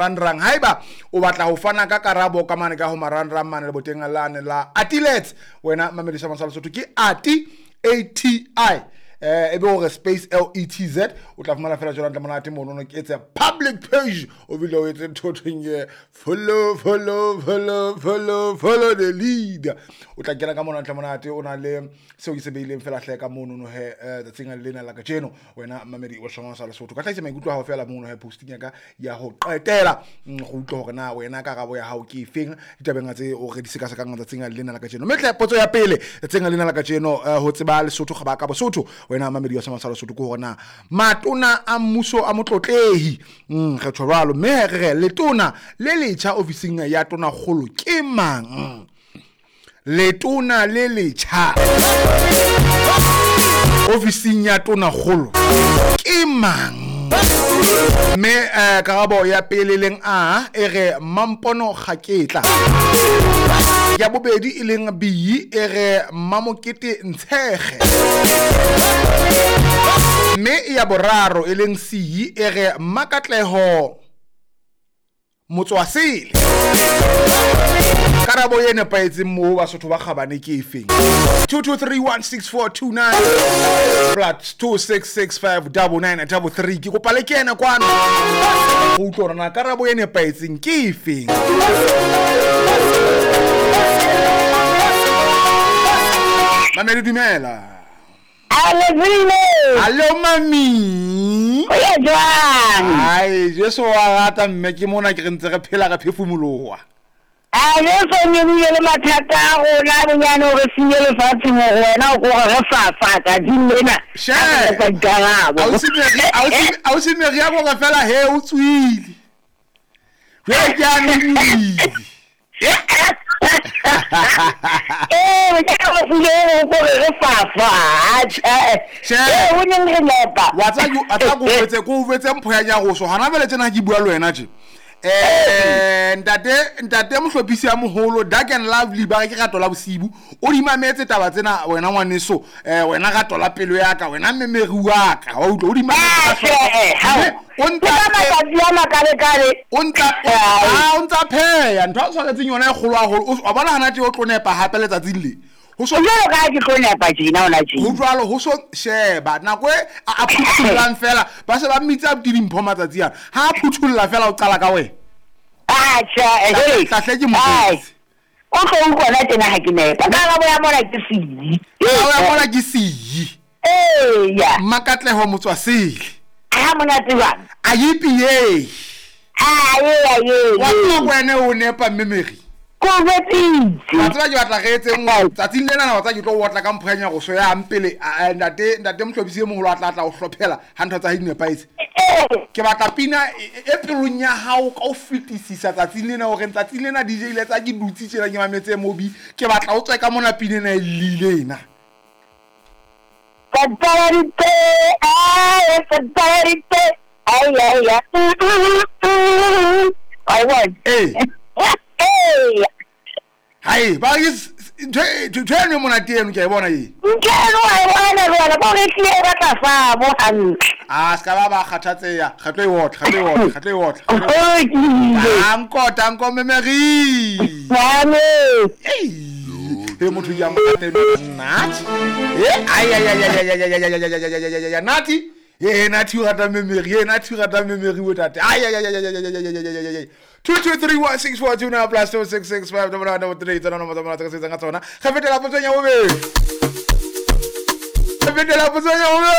Marangrang. Haeba o batla ho fana ka karabo ka mane ka ho marangrang mane leboteng lane la Atilets, wena mamedisa Masala Sotho ke Ati A T I e be hore space L E T Z, o tla fumana fela jwalo ntle monate mono. Ke etse public page, o bile o etse ntho thweng ye follow, follow, follow, follow, follow the leader. O tla kena ka mona ntle monate, o na le seo ke se beileng fela hle ka mono no he tsatsing lena la kajeno. Wena mamedi wa Shona sa Lesotho, ka hlahisa maikutlo a hao fela mono he posting ya ka ya ho qetela, go utlwa hore na wena karabo ya hao ke efeng ditabeng tse o re di sekasekang tsatsing lena la kajeno. Mme hle potso ya pele tsatsing lena la kajeno, ho tseba Lesotho ga ba ka Bosotho, wena mamedi wa Shona sa Lesotho, ke hore na matona a mmuso a motlotlehi, re tjho jwalo, mme re re letona le letjha ofising ya tonakgolo ke mang? Letona le letjha ofising ya tonakgolo ke mang? Mme karabo ya pele leng A e re Mampono Kgaketla, ya bobedi e leng B e re Mamokete Ntshege, mme ya boraro e leng C e re Makatleho Motswasele. Karabo e nepahetseng moo Basotho ba kgabane ke efeng? 22316429 plus 26659933. Ke kopa le kene kwano go utlwa hore na karabo e nepahetseng ke efeng. Mamedi, dumela. Alezile. Hallo mami. O ya jwang? Ai, Jesu wa rata mme, ke mona ke re ntse re phela re phefumoloha. A Jesu nyebile le mathata a rona bonyane hore sinye lefatsheng hore wena o kore re fafa tsatsing lena. She. A re etsa dikarabo. Ausi Mary ya gore fela he o tswile. Jwale ke a nonile. Ee, ke ka go file o kore re fafa. She. Ee, o neng re nepa. Wa tsa ke a tla ko wetse mpho ya nyaroso. Hana jwale tjena ha ke bua le wena tje. Ntate mohlophisi ya moholo Dark and Lovely ba re ke rato la bosibu, o di mametse taba tsena wena ngwaneso, wena rato la pelo ya ka, wena mmemeri wa ka, wa utlwa, o di mametse ka hloko. Mme o ntsa Ke ka matsatsi a makalekale. O ntsa Ai. A o ntsa pheya ntho a tshwaretseng yona e kgolo haholo. Wa bona hana tje o tlo nepa hape letsatsing le ho so Jwalo ka ha ke tlo nepa tjena hona tjena. Ho jwalo ho so sheba nako e a phuthollang fela, ba se ba mmitsa abuti Dimpho matsatsi ana, ha a phutholla fela o qala ka wena. Atjha, hey. Tlahle ke Ai. motho. O tlo utlwa na tjena ha ke nepa. Karabo ya mona ke siyi. Karabo ya mona ke siyi. Eya. Makatleho Motswasele. Ha monate jwang? A yipi ye. A ye, a ye, Wa ye. tseba ko wena o nepa mme Mary. Ko jwetsitse. Wa tseba ke batla re etseng tsatsing lena na, wa tseba ke tlo otla ka mpho ya nyaroso ya mpele, ntate mohlophisi e moholo a tla tla o hlophela ha ntho tsa hae di nepahetse. Ke batla pina e pelong ya hao ka ho fetisisa tsatsing lena, hore tsatsing lena DJ ile tsa ke dutse tjena ke mametse Mobi, ke batla o tswe ka mona pina ena e llile ena. Tatarite, ay, tatarite, ay, ay, ay. Ai, bona. Ee. Ee. Hai, ba ke ntho eno e monate eno ke a e bona e. Ntho eno wa e bona jwale, bo re tlile e batla fa bo hantle. A ska ba ba kgathatseha, re tlo e otla, re tlo e otla, re tlo e otla. O lokile. Danko, danko mme Mary. Mame. Ei. He motho ya monate eno, Nati. Eh, ai, ai, ai, ai, ai, ai, ai, ai, ai, ai, ai, ai, ai, ai, ai, Nati. Eh, Nati o rata mme Mary, eh, Nati o rata mme Mary bo tate. Ai, ai, ai, ai, ai, ai, ai, ai, ai, ai, ai, ai. 22316429 plus 26659933, tsona nomoro tsa mona tse re sebetsang ka tsona. Re fetela potsong ya bobedi. Re fetela potsong ya bobedi.